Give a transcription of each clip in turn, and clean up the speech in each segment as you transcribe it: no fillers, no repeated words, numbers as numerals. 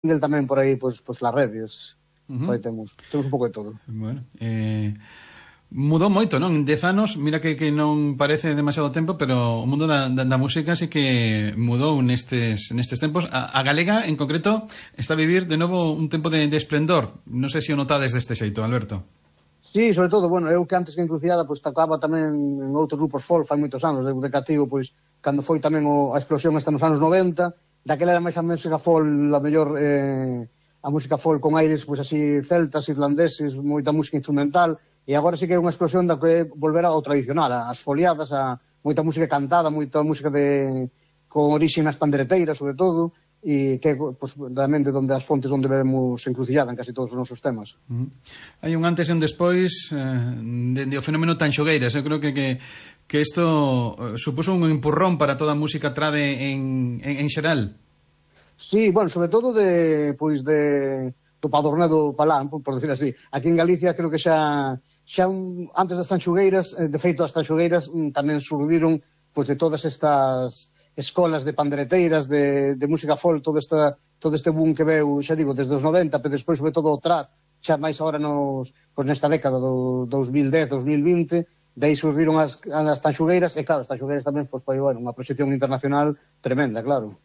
single tamén por aí, pois las redes. Por aí temos un pouco de todo. Bueno, mudou moito, non? 10 anos, mira que non parece demasiado tempo, pero o mundo da música sí que mudou nestes tempos. A galega, en concreto, está a vivir de novo un tempo de esplendor. Non sei se o notades deste xeito, Alberto. Sí, sobre todo, bueno, eu que antes que Encrucillada, pois tocaba tamén en outros grupos folk, fai moitos anos, de cativo, pois, cando foi tamén a explosión esta nos anos 90, daquela era máis a música folk, a mellor... a música folk con aires, pois así, celtas, irlandeses, moita música instrumental, e agora sí que é unha explosión da que volver ao tradicional, as foliadas, a moita música cantada, moita música con orixe nas pandereteiras, sobre todo, e que, pois, realmente, onde as fontes onde vemos Encrucillada en casi todos os nosos temas. Hai un antes e un despois de o fenómeno Tanxogueiras. Eu creo que isto supuso un empurrón para toda a música trade en xeral. Sí, bueno, sobre todo do Padornedo Palán, por decir así. Aquí en Galicia creo que xa antes das Tanxugueiras, de feito as Tanxugueiras tamén surdiron pois de todas estas escolas de pandereteiras, de música folk, todo este boom que veu, xa digo, desde os 90, pero despois sobre todo o trad, xa máis agora nesta década do 2010, 2020, de aí surdiron as Tanxugueiras, e claro, as Tanxugueiras tamén foi unha proxección internacional tremenda, claro.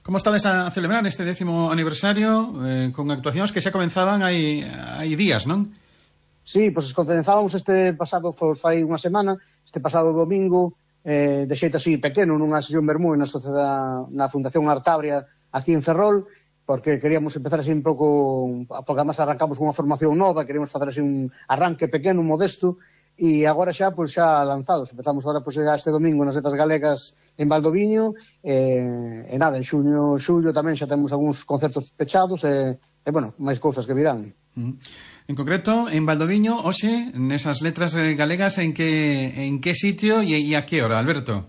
Como estades a celebrar este 10º aniversario con actuacións que xa comenzaban hai días, non? Sí, pois comenzábamos este pasado, fai unha semana, este pasado domingo, de xeito así pequeno, nunha sesión vermú na Fundación Artabria aquí en Ferrol, porque queríamos empezar así un pouco, porque además arrancamos unha formación nova, queríamos facer así un arranque pequeno, modesto, e agora xa lanzados. Empezamos agora este domingo nas Letras Galegas en Valdoviño, e nada, en xullo tamén xa temos algúns concertos pechados, e bueno, máis cousas que virán. En concreto, en Valdoviño, hoxe, nesas Letras Galegas, en que sitio e a que hora, Alberto?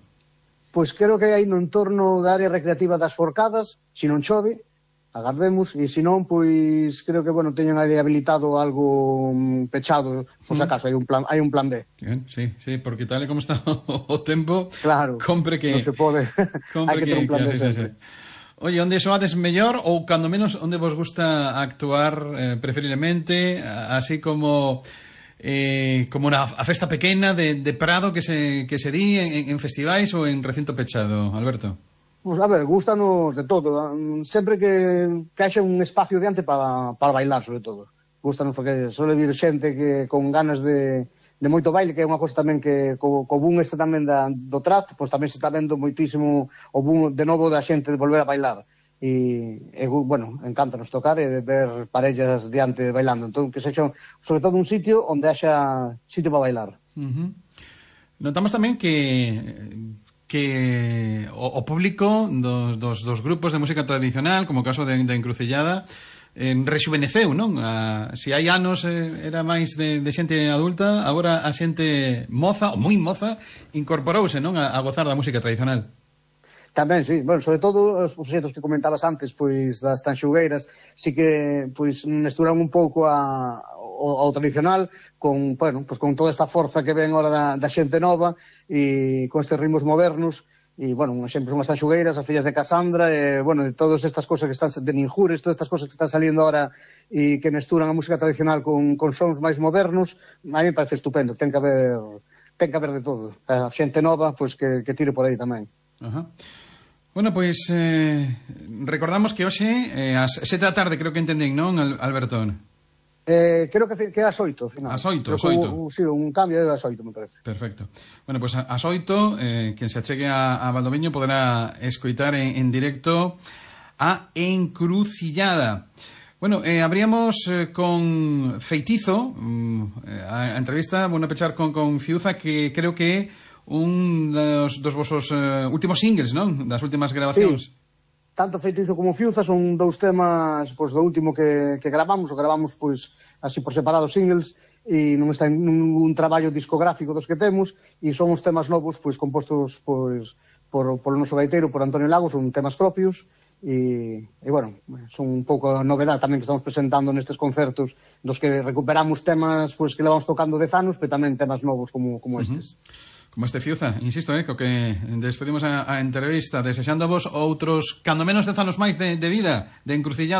Pois creo que hai no entorno da área recreativa das Forcadas, se non chove, agardemos, e se non, pois creo que, bueno, teñen ali habilitado algo pechado, por se acaso, hai un plan B. Bien, sí, porque tal e como está o tempo, claro, compre que... non se pode, hai que ter un plan B sempre. Oye, onde soades mellor, ou cando menos onde vos gusta actuar preferiblemente, así como a festa pequena de Prado que se di en festivais ou en recinto pechado, Alberto? Pues, a ver, gústanos de todo. Sempre que haxa un espacio diante para bailar, sobre todo. Gústanos porque suele vir xente que con ganas de moito baile, que é unha cosa tamén que co boom este tamén do trad, pois tamén se está vendo moitísimo o boom de novo da xente de volver a bailar. E bueno, encántanos tocar e ver parellas diante bailando. Entón, que sexa sobre todo un sitio onde haxa sitio para bailar. Notamos tamén que o público dos grupos de música tradicional, como o caso de Encrucillada, rexuveneceu, non? Se hai anos era máis de xente adulta, agora a xente moza, ou moi moza, incorporouse, non? A gozar da música tradicional. Tamén, sí. Bueno, sobre todo os proxectos que comentabas antes, pois das Tanxugueiras, sí que pois mesturan un pouco ao tradicional con, bueno, pues con toda esta forza que ven ahora da xente nova e con estes ritmos modernos e, bueno, un exemplo son as Tanxugueiras, as fillas de Casandra e, bueno, de todas estas cosas que están de Ninjures, todas estas cosas que están saliendo ahora e que mesturan a música tradicional con sons máis modernos, a mí me parece estupendo, ten que haber de todo. A xente nova, pois que tire por aí tamén. Bueno, pois recordamos que hoxe ás 7 da tarde, creo que entendín, non, Alberto? Creo que é ás 8, ao final. Ás 8, sí, un cambio é ás 8, me parece. Perfecto. Bueno, pues ás 8, quen se achegue a Valdoviño poderá escoitar en directo a Encrucillada. Bueno, abríamos con Feitizo, a entrevista, bueno, pechar con Fiuza, que creo que é un dos vosos últimos singles, non? Das últimas grabacións. Sí. Tanto Feitizo como Fiuza son dous temas pois, do último que gravamos, pois así por separado singles e non está en ningún traballo discográfico dos que temos e son uns temas novos pois compostos pois por o noso gaiteiro, por Antonio Lagos, son temas propios e bueno, son un pouco a novedade tamén que estamos presentando nestes concertos dos que recuperamos temas pois que levamos tocando 10 anos, pero tamén temas novos como estes. Como este Fiuza, insisto, co que despedimos a entrevista, desexando vos outros, cando menos 10 anos máis de vida, de encrucillada.